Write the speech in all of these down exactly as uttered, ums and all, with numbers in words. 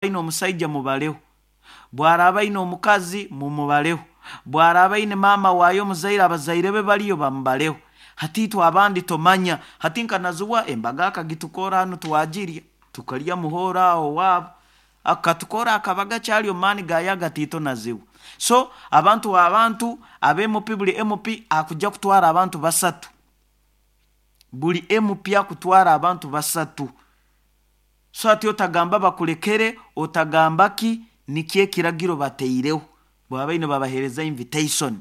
Aine omusaija mubaleho, bw'araaba aine omukazi mumubaleho, bw'araaba aine maama waayo omuzaire, abazaire be baliyo bamubaleho. Hati itwe abandi tomanya. Hati nka Naziwa embaga akagitukora hanu, twagirya, tukalya muhooro aho owaabo, akatukora akabaga kyali omu maani gayo agatiito Naziwa. So abantu abantu aba M P, buli M P akujja kutwara abantu basatu, buli M P akutwara abantu basatu. So ati otagamba bakulekere, otagamba ki, nikyo ekiragiro bateireho bwabaine babaheereza invitation.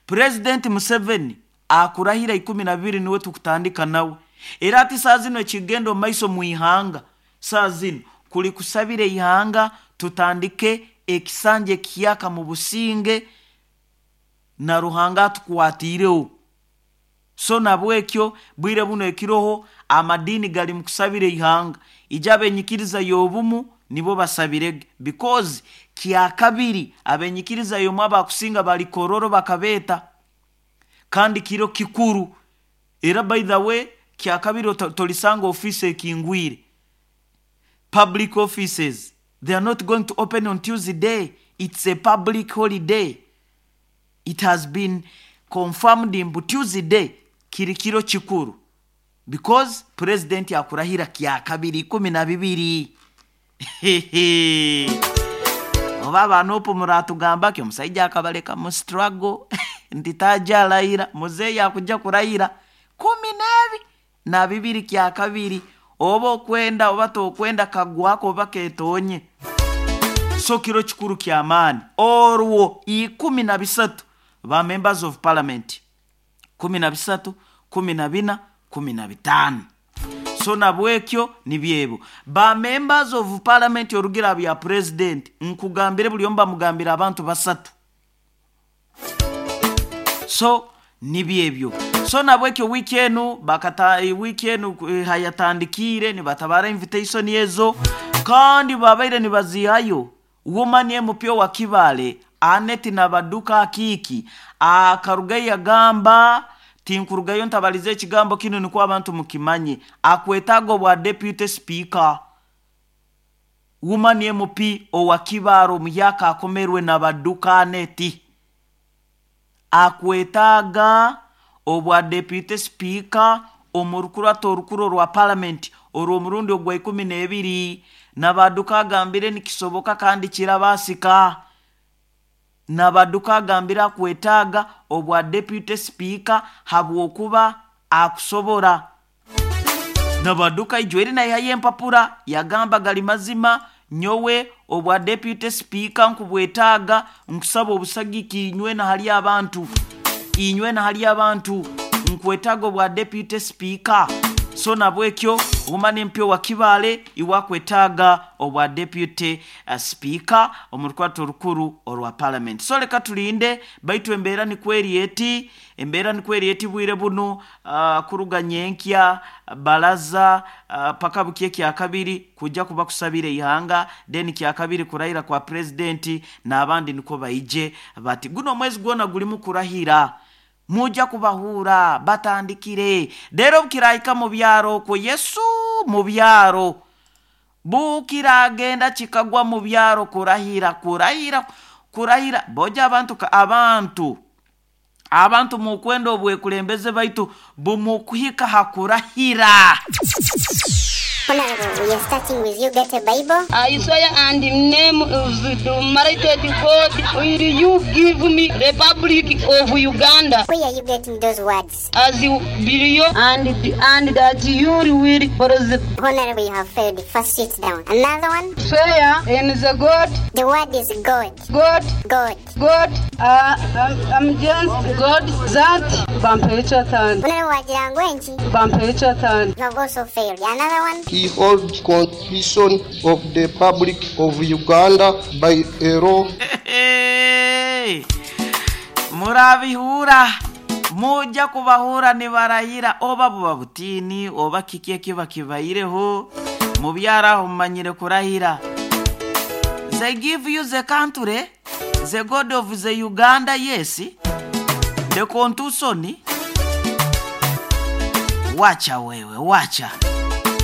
Purezidenti Museveni akurahira ikumi na bibiri, niwe tukutandika nawe. Era ati saa zino ekigenda omu maiso mu ihanga saa zino kuli kusabira ihanga tutandike ekisanja ekiyaka mu businge na Ruhanga atukwatiireho. So nabwekyo bwire buno ekiroho, amadiini gali mu kusabira ihanga. Ija abenyikiriza y'obumu nibo basabirege, because kyakabiri abenyikiriza y'omu abakusinga bali Kororo bakabeeta, kandi kiro kikuru. Era by the way, kyakabiri tolisanga ofiisi ekingwire. Public offices, they are not going to open on Tuesday. It's a public holiday. It has been confirmed mbu Tuesday kiri kiro kikuru, because president akurahira kyakabiri ikumi na bibiri. Oba abanopu muratugamba ki, omusaija akabaleka mu struggle nti taja alayira. Muzeeyi akujja kurayira kumi n'ebi na bibiri kyakabiri, oba okwenda oba tokwenda, kagwako oba ketonye. So kiro kikuru kyamaani orwo ikumi na bisatu. Ba members of parliament kumi na bisatu, kumi na bina, kumi na bitaano. So nabwekyo nibyebo ba members of parliament. Orugira bya president nkugambire, buli omu bamugambira abantu basatu. So nibyebyo. So nabwekyo wiiki enu bakata, wiiki enu eh, hayatandikiire nibatabara invitation ezo, kandi babaire nibazihayo. Woman M P wa Kibale Aneti Nabaduka Akiiki akarugayo yagamba, tinkurugayo ntabalize ekigambo kinu nikwo abantu mukimanye, akwetaaga obwa deputy speaker. Woman M P owa Kibaale omuyaka akomerwe Nabaduka Aneti akwetaaga obwa deputy speaker omu rukurato orukuru rwa parliament orw'omurundi ogwa ikumi n'ebiri. Nabaduka agambire nikisoboka kandi kirabasika. Nabaduka agambire akwetaaga obwa deputy speaker habwokuba akusobora. Nabaduka ijweri naihayo empapura, yagamba gali mazima, nyowe obwa deputy speaker nkubwetaaga, nkusaba obusagiki inywe na hali abantu, inywe na hali abantu, nkwetaaga obwa deputy speaker. So nabwekyo woman M P wa Kibaale iwakwetaaga obwa deputy uh, speaker omu rukwato orukuru orwa parliament. So leka tulinde, baitu embeera nikweri eti, embeera nikweri eti bwire bunu. uh, kuruga nyenkya balaza uh, paka bukie kyakabiri kujja kuba kusabira ihanga, then kyakabiri kurahira kwa president n'abandi niko baije bati guno omwezi gwona gulimu kurahira, mujja kubahura batandikire. Rero bukirahika mu byaro okwo, Yesu, mu byaro bukiragenda kikagwa mu byaro kurahira, kurahira, kurahira boja abantu abantu abantu mukwenda obwekulembeze, baitu bumukuhika hakurahira. Honorable, we are starting with you. Get a Bible. I swear and in name of the Almighty God, will you give me Republic of Uganda? Where are you getting those words? As you believe and and that you will preserve. Honorable, you have failed. First, sit down. Another one. Swear in the God. The word is God. God. God. God. Uh, I'm, I'm just God that Bampecha. Honorable Wajirangwenji. Bampecha. You have also failed. Another one. He holds Constitution of the Republic of Uganda by a law. Hey! Murabihura, mujja kubahura nibarayira, oba buba butini oba kiki ekiba kibaireho mubyaraho mumanyire kurahira. They give you the country, the God of the Uganda, yes, the constitution. Wacha wewe, wacha.